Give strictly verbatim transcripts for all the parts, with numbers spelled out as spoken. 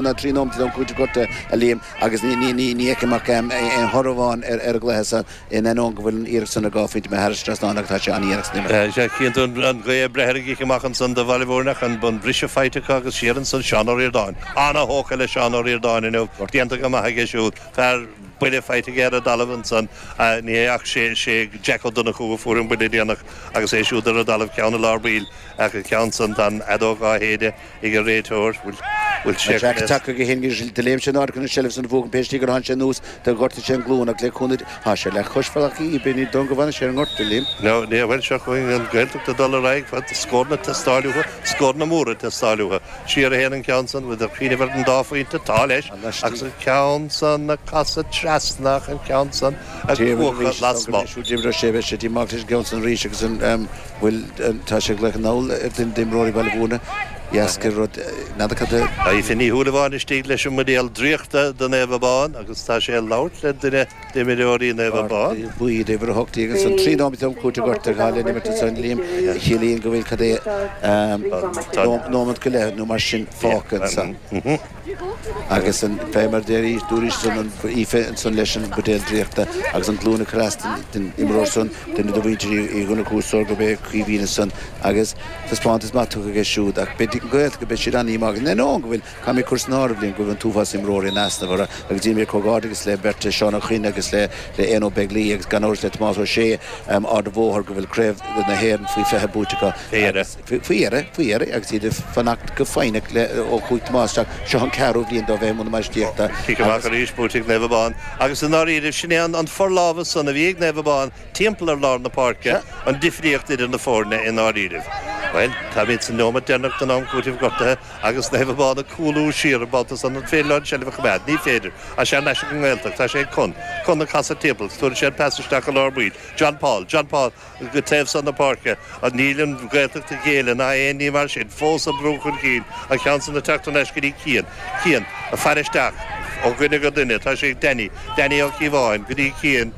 ná trí nóiméad don chúiteamh gortaithe, a Liam, agus ní fheicim ach aon thoradh amháin ar an gcluiche san, in ainneoin go bhfuil an iarracht san ar dhá phointe imithe thar an trasnán agus tá sé an-dhéanach san imirt. Sea, chíonn tú an ghaoth ag breith ar an gcic amach ansan do Bhaile Mhúirne ach an briseadh faighte acu agus siar ansan Seán Ó Ríordáin. Ana-thógtha le Seán Ó Ríordáin inniu, déanta go maith aige siúd. Fear buille faighte aige ar an dtalamh ansan, ní hea ach sé Jack Ó Donnchú a fuair an buille déanach agus é siúd ar an dtalamh, ceann i lár baill ach an ceann san tá an fheadóg á shéideadh ag an réiteoir. Bhfuil sé Jack tagtha chuige féin agus do léim sé in airde chun an tseilbh san a bhuachan pé slí gur tháinig sé anuas do ghortaigh sé an glúin ach le cúnamh Tá sé le cois bhealach í b'in í dom go bhfanfaidh sé ar an ngort, a Liam. No, ní, bhuel seo chugainn an Ghaeltacht ag dul ar aghaidh, fad scóranna ag teastáil uathu, scóranna móra ag teastáil uathu. Siar a théann an ceann san, bhfuil cuimhneamh ar an dá phointe, tá leis, agus an ceann san ag casadh trasna ach an ceann san ag cuachadh lasmuigh. D'imreodh sé, beidh sé díomách leis an gceann san arís agus an bhfuil, tá sé ag glaoch anall ar duine d'imreoirí Bhaile Mhúirne, dheasca rud, n'fheadar cad a. Tá Aoife Ní Shúilleabháin istigh leis an mbuidéal draíochta do Naomh Abán agus tá sé ag labhairt le duine d'imreoirí Naomh Abán. Cártaí buí d'uimhir a hocht déag ansan, trí nóiméad am cúiteamh gortaithe atá le n-imirt ansan, Liam, a chiallaíonn go bhfuil cad é nóiméad go leith nó mar sin fágtha ansan. Agus an, fé mar a deir dúraís ansan, an Aoife ansan leis an mbuidéal draíochta agus an glúin ag cur as don imreoir san, duine de mhuintir Uí Dhonnchú is dóigh gurb é Caoimhín ansan agus taispeántas maith tugtha aige siúd ach beidh an Ghaeltacht, beidh siad an-dhíomách in ainneoin go bhfuil Caithfidh mé cur san áireamh, Liam, go bhfuil an t-uafás imreoirí in easnamh orthu agus déanaim comhghairdeachas le beirt, Seán Ó Coinn agus le Éanna Ó Beaglaoich agus gan amhras le Tomás Ó Sé, Ard an Bhóthair, go bhfuil Craobh na hÉireann faoi fiche buaite acu agus faoi dheireadh, faoi dheireadh agus iad ag fanacht go foighneach le ó chuaigh Tomás isteach, seo an ceathrú bhliain dó bheith i mbun na bainistíochta Cic amach agus. arís buaite ag Naomh Abán agus i ndáiríre sin é an forlámhas san a bhí ag Naomh Abán timpeall ar lár na páirce, an difríocht idir na foirne i ndáiríribh. Bhuel, táimid sa neomat deireanach den am cúitimh gortaithe agus Naomh Abán ag cúlú siar an babhta san. An féidir leo an tseilbh a choimeád? Ní féidir. Tá sé thar n-ais ag an nGaeltacht. Tá sé ag Con. Con ag casadh timpeall. Tabharfaidh sé an pas isteach i lár baill. John Paul. John Paul go taobh san na páirce. Níl an Ghaeltacht ag géilleadh ná aon ní mar sin. Fós ag brú chun cinn. An ceann san ag teacht thar n-ais go dtí Cian. Cian ag faire isteach ó dhuine go duine. Tá sé ag Danny. Danny Ó Cíobháin go dtí Cian.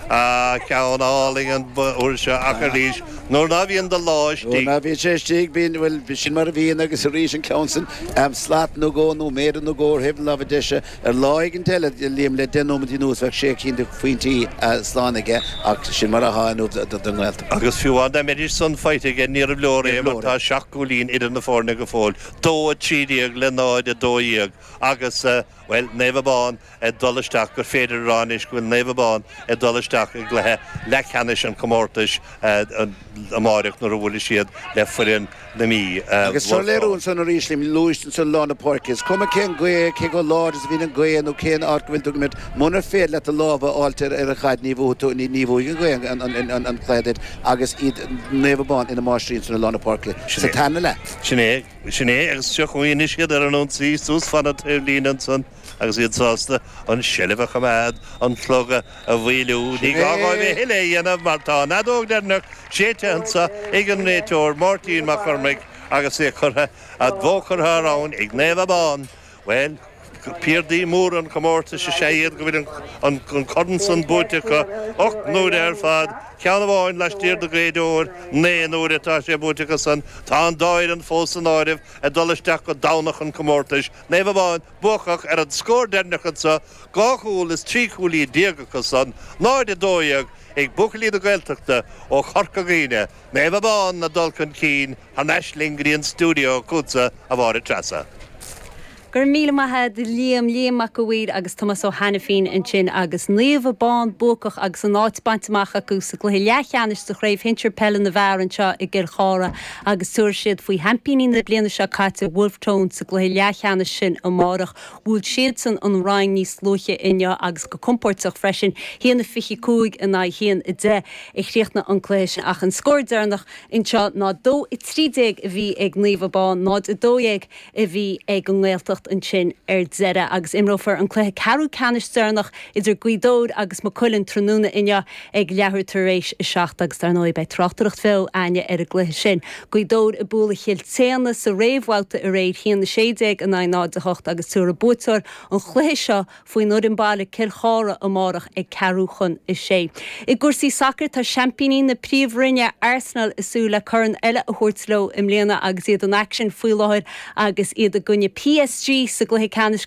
Ah, ceann álainn an uair seo ach arís, nuair ná bhíonn do lá Nuair istigh. ná bíonn sé istigh, bíonn, bhuel, sin mar a bhíonn agus arís an ceann san, slat nó dhó nó méadar nó dhó ar thaobh na láimhe deise, ar lá éigin eile, Liam, le deich nóiméad anuas bheadh sé cinn de phointí slán aige ach sin mar atá inniu don nGaeltacht. Agus fiú amháin dá mbeidís san faighte aige, níorbh leor é mar tá seacht gcúilín idir na foirne go fóill, dó a trí déag le náid a dó dhéag agus, bhuel, Naomh Abán ag dul isteach, gur féidir a rá anois go bhfuil Naomh Abán ag dul isteach i gcluiche leathcheannais an chomórtais amáireach nuair a bhuailfidh siad le foireann na Mí, Agus seo Wolfe léiriú Tones. ansan arís, Liam, luaigh ansan lár na páirce. Is cuma cén ghaoth, cé chomh láidir is a bhíonn an ghaoth nó cén áit go bhfuil tú ag imirt, munar féidir leat do lámh a fháilt ar an chaid ní bhuafaidh tú, ní bhuafaidh an ghaoth an cluiche duit agus iad Naomh Abán ina máistrí ansan i lár na páirce Sin sa é. tarna leath. Sin é. Sin é, agus seo chugainn anois iad ar an ionsaí suas fan an taobhlíne ansan agus iad sásta an tseilbh a choimeád, an clog a mhoilliú. Ní Sin gá dhóibh a é! thuilleadh a dhéanamh mar tá an fheadóg dheireanach séidte anso ag an réiteoir Máirtín Mac Cormaic agus é curtha, an bhó curtha thar abhainn ag Naomh Abán. Bhuel, piardaí móra an chomórtais is ea iad go bhfuil an corn san buaite acu ocht n-uaire ar fad, ceann amháin laistiar de Ghaoth Dobhair, naoi n-uaire atá sé buaite acu san. Tá an dá fhoireann fós san áireamh ag dul isteach go Domhnach an chomórtais. Naomh Abán buacach ar an scór deireanach anso, dhá chúl is trí chúilín déag acu san, náid a dó dhéag ag buachaillí na Gaeltachta ó Chorca Dhuibhne. Naomh Abán ag dul chun cinn thar n-ais linn go dtí an stiúideo chugatsa, a Mháire Treasa. Go raibh míle maith agat Liam, Liam Mac a' Mhaoir agus Tomás Ó hAiniféin ansin agus Naomh Abán buacach agus an áit bainte amach acu sa gcluiche leathcheannais sa chraobh shinsir peile na bhfear anseo i gCill Chartha agus tabharfaidh siad faoi sheaimpíní na bliana seo caite Wolfe Tones sa gcluiche leathcheannais sin amárach. Bhuail siadsan an Rinn níos luaithe inniu agus go compóirteach freisin, haon a fiche cúig in aghaidh haon a deich a chríochnaigh an cluiche sin ach an scór deireanach anseo ná dó a trí déag a bhí ag Naomh Abán, náid a dó dhéag a bhí ag an nGaeltacht ansin ar deireadh agus imreofar an cluiche ceathrú ceannais deireanach idir Gaoth Dobhair agus Maigh Cuilinn tráthnóna inniu ag leathuair tar éis a seacht agus dar ndóigh beidh tráchtaireacht bheo againne ar an gcluiche sin. Gaoth Dobhair ag bualadh Chill tSéadhna sa réamhbhabhta aréir haon a sé déag in aghaidh náid a hocht agus tabharfaidh buaiteoir an chluiche seo faoin fhoireann baile Cill Chartha amárach ag ceathrú chun a sé. I gcúrsaí sacair tá seaimpíní na Príomhroinne Arsenal ag súil le corn eile a thabhairt leo i mbliana agus iad in aicsean faoi láthair agus iad i gcoinne PSG trí sa gcluiche ceannais